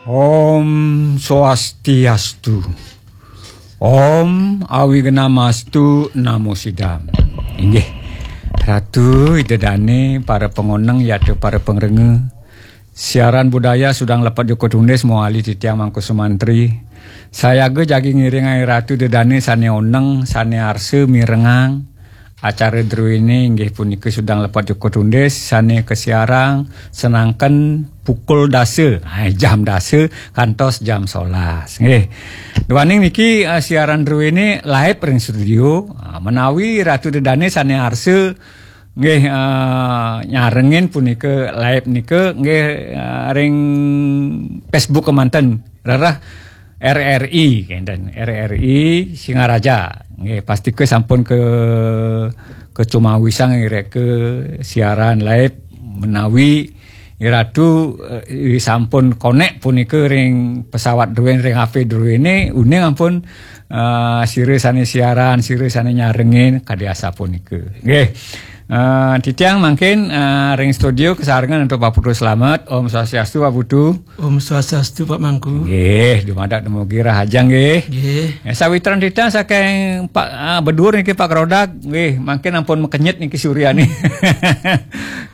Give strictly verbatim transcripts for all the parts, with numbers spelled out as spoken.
Om Swastiastu. Om Awignamastu Namo Sidam. Inggih. Ratu Ida Dane, para pangoneng yata para pangrengga. Siaran budaya Sudang Lepat Joko Tundis mawali titiang Mangku Sumantri. Sayaga jagi ngiringang Ratu Ida Dane sane oneng, sane arsa mirengang acara druene inggih punika Sudang Lepat Joko Tundis sane kasiarang senangken pukul dasa, ha, jam dasa kantos jam solas. Nggih. Duaning niki, eh, siaran druene live ring studio, ah, menawi Ratu Ida Dane sane arsa nggih, eh, nyarengin punika live nika nggih, eh, ring Facebook kemanten. Rereh R R I kenten, R R I Singaraja. Nggih, pastika sampun ke kecumawisang irika siaran live menawi Iratu, eh, sampun konek punika ring pesawat druene, ring H P druene, uning ampun, eh, sira sane siaran, sira sane nyarengin kadi asapunika. Nggih. Eh, titiang mangkin, eh, ring studio kasarengan antuk Pak Putu Slamet. Om Swastiastu, Pak Putu. Om Swastiastu, Pak Mangku. Nggih, dumadak dumugi rahajeng nggih. Nggih. Eh, sawitran titiang saking Pak, ah, bedur niki Pak Krodak, nggih, mangkin ampun makenyit niki suryane.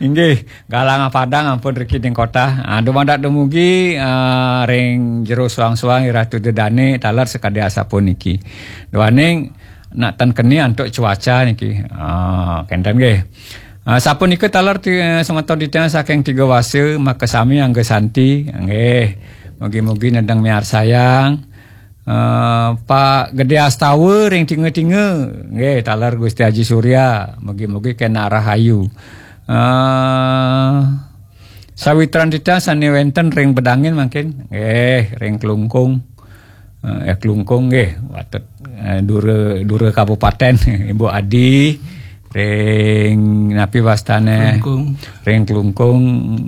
Inggih, galang padang ampun riki ning kota. Ah, dumadak dumugi, ah, ring jero suang-suang Iratu Ida Dane taler sakadi asapuniki. Duaning nak ten keni antuk cuaca niki. Ah, kenten nggih. Ah, sapunika taler ti-, semeton titiang saking Tiga Wasa, makasami angga santi. Nggih. Mugi-mugi nedeng miarsayang. Eh, Pak Gede Astawa ring Tinga-tinga. Nggih, taler Gusti Haji Surya. Mugi-mugi kena rahayu. Eh, sawitran titiang sane wenten ring Bedangin mangkin. Nggih, ring Klungkung. Eh, eh, Klungkung nggih, watet, eh, dura, dura kabupaten, Ibu Adi, ring napi wastane? Klungkung. Ring Klungkung.